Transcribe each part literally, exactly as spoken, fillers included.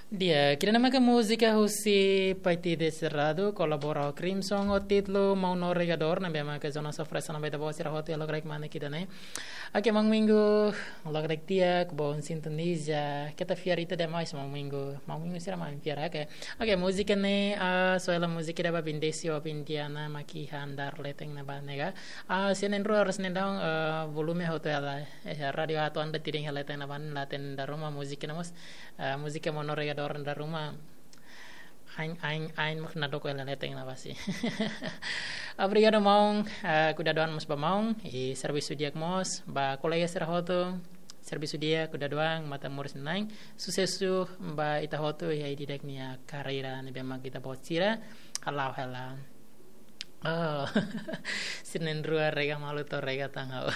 Di'ak, ida-ne'e maka múzika husi Paititi Cerrado, kolabora ho Crimson, ho títulu Maun no Regador, ne'ebé maka Jonas oferese ona ba ita-boot sira hotu iha lokraik manek ida-ne'e. Oke, Maun Minggu, lokraik di'ak, bom sintoniza, keta fiar ita demais, Maun Minggu, Maun Minggu sira mak fiar, oke. Oke, múzika ne'e, ah, soela múzika ida ba Bindesi ho Bindiana, mak iha andár leten ne'ebá ne'e ka. Ah, sira na'in-rua, sira na'in-daun, ah, volume hotu hela, eh, rádiu atu anda tiring hela leten ne'ebá, la hatene dala ruma múzika ne'e mós, ah, múzika Maun no Regador dala ruma. Ain, ain, ain mak nadoko hela leten ne'ebá sih. Obrigadu maun, ah, kuidadu an mós ba maun, i servisu di'ak mós, ba kolega sira hotu, servisu di'ak, kuidadu an, matan moris na'in, susesu ba ita hotu, iha ida-idak nia karreira, ne'ebé mak ita-boot sira, hala'o hela. Oh, sira na'in-rua rega malu to'o rega tan ha'u.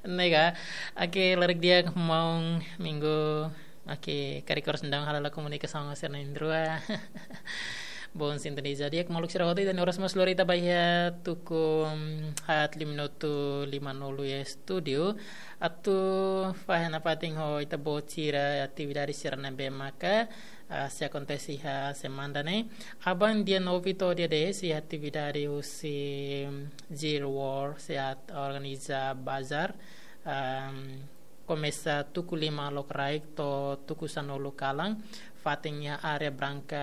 Ne'e ka, oke, lokraik di'ak Maun Minggu, oke, karik oras daudaun halo komunikasaun ho sira na'in-rua. Bom sintoniza di'ak maluk sira hotu, ida-ne'e oras mós lori ita ba iha tuku, mm, haat lima minutu limanulu iha estúdiu. Atu fahe nafatin ho ita-boot sira atividade sira ne'ebé maka, ah, sei akontese iha semana ne'e. Aban dia nove to'o dia dez iha atividade husi, mm, Zero War sei atu organiza bazar. Am, komesa tuku lima lokraik to'o tuku sanulu kalan, fatin iha área Branca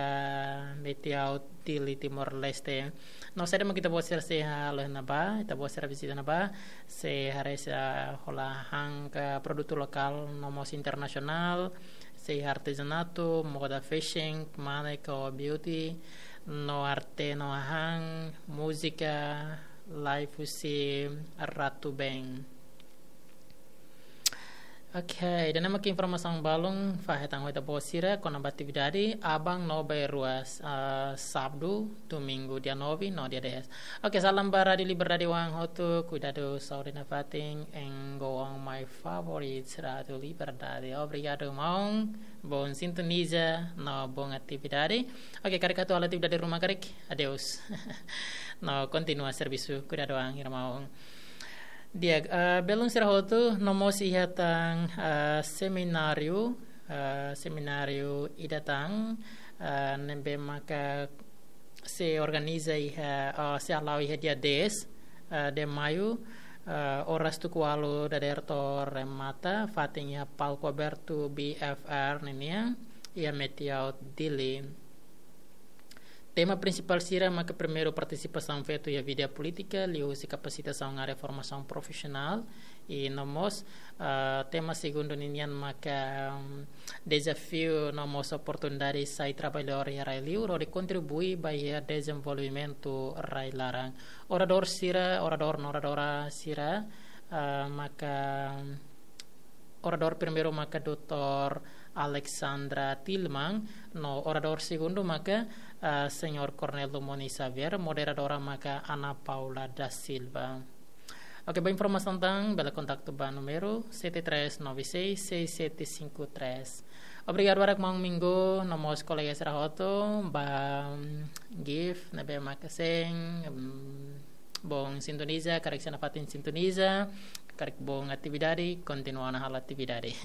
Metiaut, Dili, Timor-Leste. No saida mak ita-boot sira sei halo iha ne'ebá, ita-boot sira vizita ne'ebá, sei haree sira hola hahán ka produtu lokál no mós internasionál, sei artezanatu, moda fashion, manek ho beauty, no arte no hahán, múzika, live husi Ratu Band. Oke, ida-ne'e mak informasaun balun, fahe tan ho ita-boot sira, kona-ba atividade, aban no bainrua, ah, sábadu, domingu, dia nove, no dia dez. Oke, salam ba Rádiu Liberdade oan hotu, kuidadu saúde nafatin, and go on my favorite, Rádiu Liberdade. Obrigadu, maun, bom sintoniza, no bom atividade. Oke, karik atu halo atividade ruma karik, adeus. No kontinua servisu, kuidadu an, irmaun. Di'ak, ah, belun sira hotu, no mós iha tan, ah, semináriu, ah, semináriu ida tan, ah, ne'ebé maka sei organiza iha, ah, sei hala'o iha dia dez, ah, de maiu, ah, oras tuku ualu dadeer to'o remata, fatin iha palku abertu B F R ninian, iha Metiaut Dili. Tema prinsipál sira maka primeiru partisipasaun feto iha vida polítika, liuhusi kapasitasaun área formasaun profisionál, i no mós, ah, tema segundu ninian maka, mm, dezafiu no mós oportunidade sai trabalhadór iha rai-liur, hodi kontribui ba iha dezenvolvimentu rai-laran. Oradór sira, oradór no oradora sira, ah, maka, mm, oradór primeiru maka doutór Alexandra Tilman, no oradór segundu maka, ah, señór Cornel Dumoni Xavier, moderadora maka Ana Paula da Silva. Oke, ba informasaun tan, bele kontaktu ba númeru sete três nove seis seis sete cinco três. Obrigadu barak maun Minggu, no mós kolega sira hotu, ba, mm, Gift, ne'ebé maka sente, mm, bom sintoniza, karik sei nafatin sintoniza, karik bom atividade, kontinua ona halo atividade.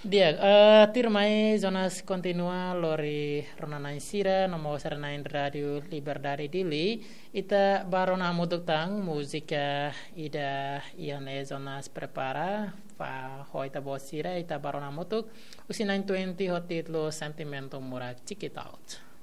Di'ak, eh, tuirmai Jonas kontinua lori rona-na'in sira, no mós rona-na'in Rádiu Liberdade Dili, ita bá rona hamutuk tan múzika ida iha ne'e Jonas prepara, ba ho ita-boot sira, ita bá rona hamutuk, husi nine twenty ho títulu Sentimentu Murak Check It Out.